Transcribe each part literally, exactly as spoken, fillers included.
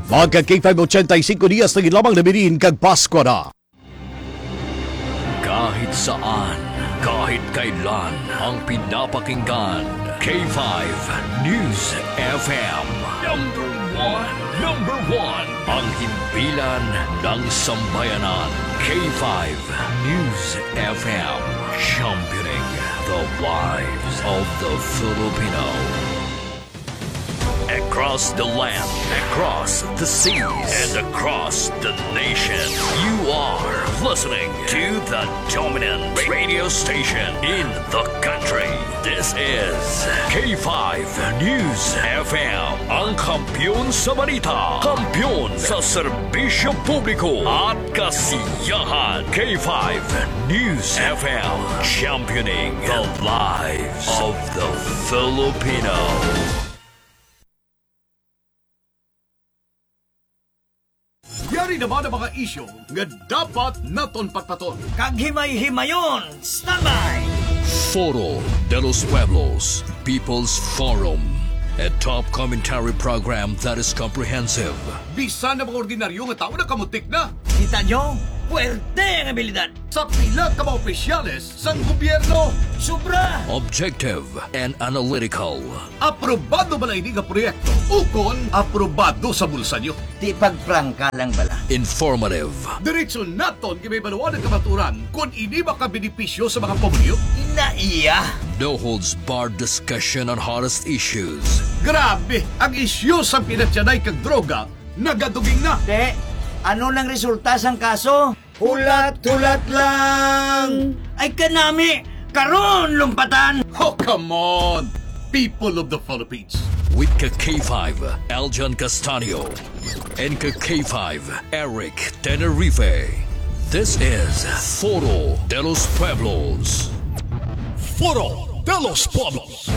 Mga ka K five eighty-five, diyas na gid lamang nabilin kag Pasko na. Kahit saan, kahit kailan, ang pinapakinggan, K five News F M. Number one, number one, ang himpilan ng sambayanan, K five News F M, championing the lives of the Filipino. Across the land, across the seas, and across the nation, you are listening to the dominant radio station in the country. This is K five News F M, ang kampiyon sa balita, kampiyon sa serbisyo publiko at kasiyahan. K five News F M, championing the lives of the Filipino. Yari naman ang mga isyu nga dapat naton patpaton. Kag himay-himayon, standby! Foro de los Pueblos, People's Forum, a top commentary program that is comprehensive. Bisan ang mga ordinaryo nga tawo nakamutik na. Kita nyo? Puwerte ang abilidad. Sa pila ka mga opisyales sang gobyerno. Sobra! Objective and analytical. Aprobado bala ini nga proyekto ukon aprobado sa bulsa nyo? Di pagprangka lang bala. Informative. Diretso naton gibabaluan ang kamaturan kon ini makabenepisyo sa mga pamilyo. Ina iya. No holds barred discussion on hottest issues. Grabe, ang isyu sang pinatyanay kag droga nagaduging na. Te, ano nang resulta sang kaso? Hulat-hulat lang! Ay kanami, karon lumpatan! Oh, come on! People of the Philippines. With ka K five, Aljan Castanio, and ka K five, Eric Tenerife. This is Foro de los Pueblos. Foro de los Pueblos.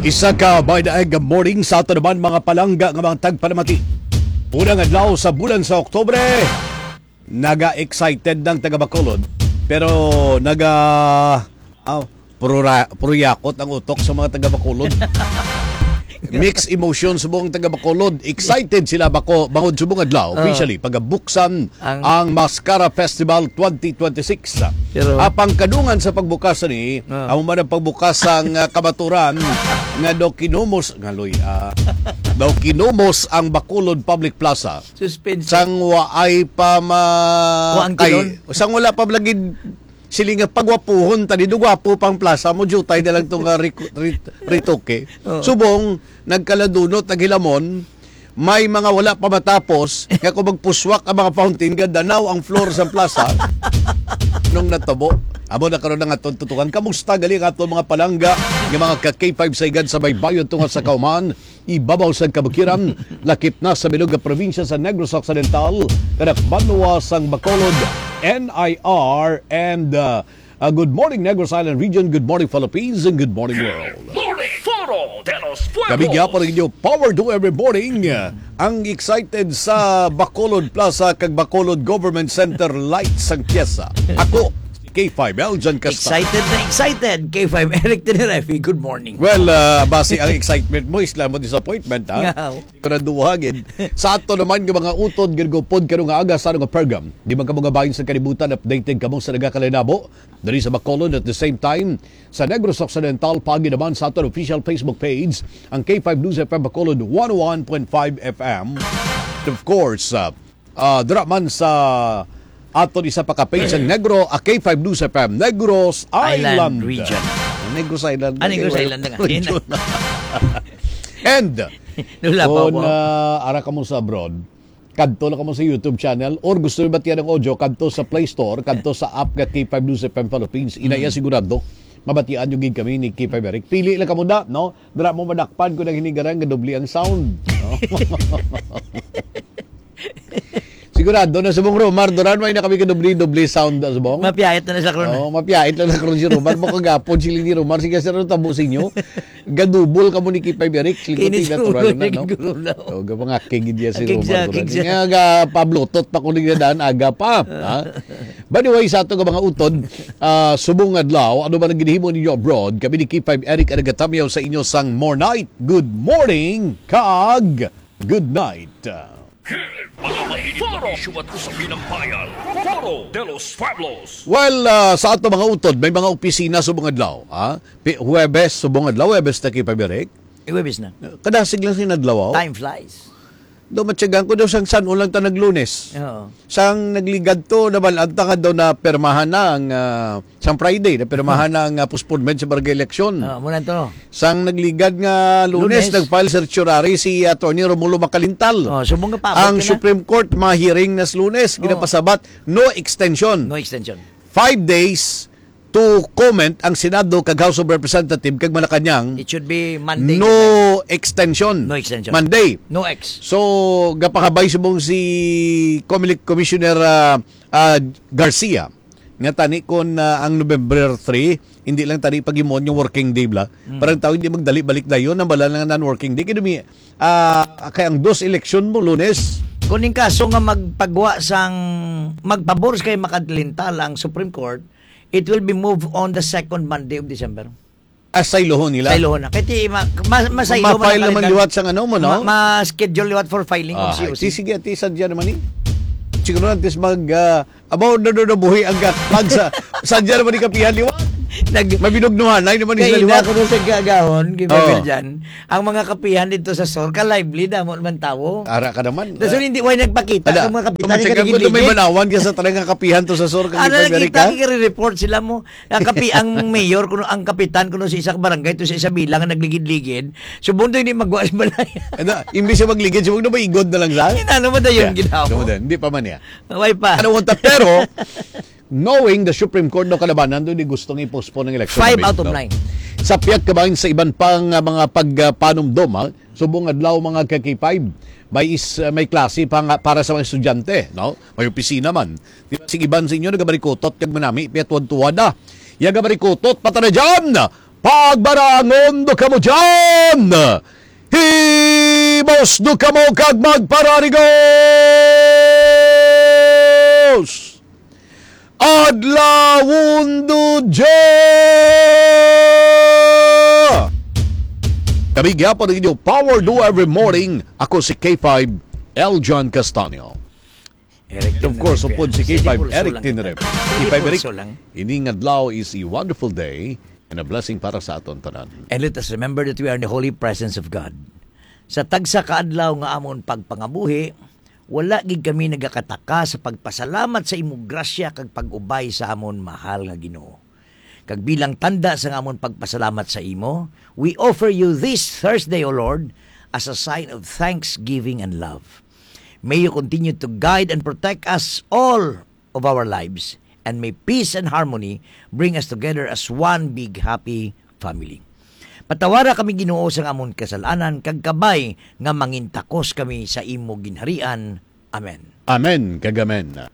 Isa ka maayong morning sa ato naman, mga palangga nga mga tagpalamati. Unang adlaw sa bulan sa Oktubre. Naga-excited ang taga Bacolod, pero naga, aw, prura-, pruyakot ang utok sa mga taga Bacolod. Mixed emotions subong taga Bacolod. Excited sila bako bangod subong adlaw, Ah. officially, pagabuksan Ang ang Mascara Festival twenty twenty-six. Pero Apang kadungan sa pagbukas ni, Ah. amo man ang pagbukas sang, ah, kamaturan nga daw kinumos, nga, Loy, ah, daw kinumos ang Bacolod Public Plaza. Suspense. Sang waay pa ma-, Kuan kay, kilon? Sang wala pa lagi sila nga pagwapuhon, tani do gwapo pang plaza mo, jutay na lang to nga riku-, rit-, ritoke. Oo. Subong, nagkaladunot, naghilamon, may mga wala pa matapos, nga kung magpuswak ang mga fountain, gadanaw ang floor sa plaza nung natabo. Amo na karon ang aton tutukan. Kamusta gali ang aton mga palangga, nga mga ka K five sa igad sa baybayon tungod sa kauman? Ibabaw sang kabukiran, lakip na sa bilog nga probinsya sa Negros Occidental, kanak banwa sang Bacolod, N I R, and, uh, uh, good morning, Negros Island Region, good morning, Philippines, and good morning, world. Morning, Foro de los Pueblos. Kami gyapon ang inyo Power Do Every Morning, uh, ang excited sa Bacolod Plaza kag Bacolod Government Center lights sang pyesa. Ako, K five L, John Casta. Excited na excited, K five Eric Tenerife. Good morning. Well, ah, basi ang excitement mo is lamang disappointment, ha? Nga. Karaduha gid. Sa ato naman nga mga utod, ginagupod karon nga aga sa ano nga program. Di man kamo nga bahin sa kalibutan, updated kamo sa nagakalinabo diri sa Bacolod. At the same time, sa Negros Occidental, paagi naman sa aton official Facebook page, ang K five News F M Bacolod one oh one point five F M. And of course, ah, Ah, dira man sa aton isa pa ka page, ang Negro, ah, K five News F M, Negros Island Island. Region. Negros Island. Ah, Negros Island na nga. Region. And, Wala pa kung, ako. Ah, ara ka mo sa abroad, kadto lang ka mo sa YouTube channel, or gusto mo batian ang audio, kadto sa Play Store, kadto sa app nga K five News F M Philippines. Inaya Mm. sigurado, mabatian nyo gid kami ni K five Eric. Pili lang ka mo na, no? Dira mo madakpan kung naghinigara nga doble ang sound. No? Sigurado na subong Romar, duran may na kami ka doble-doble sound na subong. Mapiyait na na sa karon. Oh, mapiyait lang na karon si Romar. Mo kagapon si Lini Romar. Sige, sir, tabo sa inyo. Gadubol ka mo ni Kipay Biarik. Lingkod Kini natural siguro na, no? Siguro na. Oh, gabang aking gid ya si Aking Romar, siya, duran. Aking siya. Nga ga pa-bluetooth pa ko ni daan aga pa. Ha? By the way, sa ato nga mga utod, ah, subong adlaw, ano ba ang ginhimo ninyo abroad? Kami ni Kipay Eric ang nagatamyaw sa inyo sang More Night. Good morning, kag good night. Mga mainit na isyu at usapin ng bayan. Foro de los Pueblos. Well, ah, sa ato mga utod, may mga opisina subong adlaw, ha? Pi-, Huwebes subong adlaw, Huwebes na kay Pabirek. Huwebes na. Kadasig lang sin adlaw, oh. Time flies. Do matyagan ko daw sang San lang ta naglunes. Oo. Sang nagligad to, nabalaan ta ka daw na pirmahan na ang, ah, sang Friday, na pirmahan na ang, ah, postponement sa barangay election. Oo, muna to. Sang nagligad nga Lunes, Lunes. Nag-file certiorari si Attorney Romulo Macalintal. Oh, so mga pa-, Ang kaya na? Supreme Court, mahiring na sa Lunes, Oh. Ginapasabat, no extension. No extension. Five days to comment ang Senado kag House of Representatives kag Malacañang. It should be Monday. No extension. No extension. Monday. No X. So, gapakabay subong si Comelec Commissioner, ah, ah, Garcia. Nga tani kon, ah, ang November three, hindi lang tani paghimuon yung working day bla. Mm. Parang tao hindi magdali balik dayon, ang bala nga non-working day. Kaya dumi, ah, kay ang dos eleksyon mo, Lunes. Kung in kaso nga magpagwa sang, magpabor kay Macalintal ang Supreme Court, it will be moved on the second Monday of December. Ah, saylohon nila? Saylohon na. Kaya ti, ma-, ma-, masaylo man Ma-file ang naman kalendar. Liwat sang ano mo, no? Ma-, ma-schedule liwat for filing of Ah, C O C. Ti, sige, ti, sadya naman eh. Siguro antes mag, ah, about na doon nabuhi ang ka-, mag sa, sadya naman ni kapihan liwat. Nag- Mabinugnuhan, ay naman Kaya sila ina liwat. ko doon sa gagahon, kay Oo. Mabel dyan. Ang mga kapihan dito sa Sur, ka-lively na mo naman tawo. Ara ka naman. Tapos hindi, why nagpakita Ada, ang mga kapitan kung yung matyagan ko, may kaligid-ligid? Manawan ka sa talagang kapihan to sa Sur, kag Ano iba nakita, Amerika? Kaya report sila mo. Ang kapi-, ang mayor, kuno, ang kapitan, kuno, sa isa ka barangay, to sa isa bilang, ang nagligid-ligid. So, bundo hindi magwa sa balay. Ano, imbis na magligid, so, huwag na maigod na lang sa? Inano mo na yun, Yeah. ginawa mo? Ano mo din? Hindi pa man niya. Why pa? Ano mo ta-, pero, knowing the Supreme Court daw kalabanan, doon di gusto nga i-postpone ang election Five na out of Bento. nine. Sa pihak ka ba sa iban pang, ah, mga pagpanumdom, ha? Subong adlaw, mga ka-K five, may is-, ah, may klase pa nga para sa mga estudyante, no? May opisina man. Di ba, sige, iban sa inyo nagabarikutot kag manami, piyat tuwad-tuwad na. Yagabarikutot, pata na dyan! Pagbarangon do kamo dyan! Hibos do kamo kag magpararigos! Adlawon do dya! Kami gyapon ang inyo Power Do Every Morning. Ako si K five, Eljon Castaño. Eric And of course, Tinrep. upod si Sige, K five, pulso Eric lang. Tinrep. Sige, K five, Eric, pulso lang. Ining adlaw is a wonderful day and a blessing para sa aton tanan. And let us remember that we are in the holy presence of God. Sa tagsa ka adlaw nga amon pagpangabuhi, wala gid kami nagakataka sa pagpasalamat sa imo grasya kag pag-ubay sa amon mahal nga Ginoo. Kag bilang tanda sa amon pagpasalamat sa imo, we offer you this Thursday, O Lord, as a sign of thanksgiving and love. May you continue to guide and protect us all of our lives, and may peace and harmony bring us together as one big happy family. Patawara kami, Ginoo, sa amon kasalanan, kag kabay nga mangintakos kami sa imo ginharian. Amen. Amen kag amen.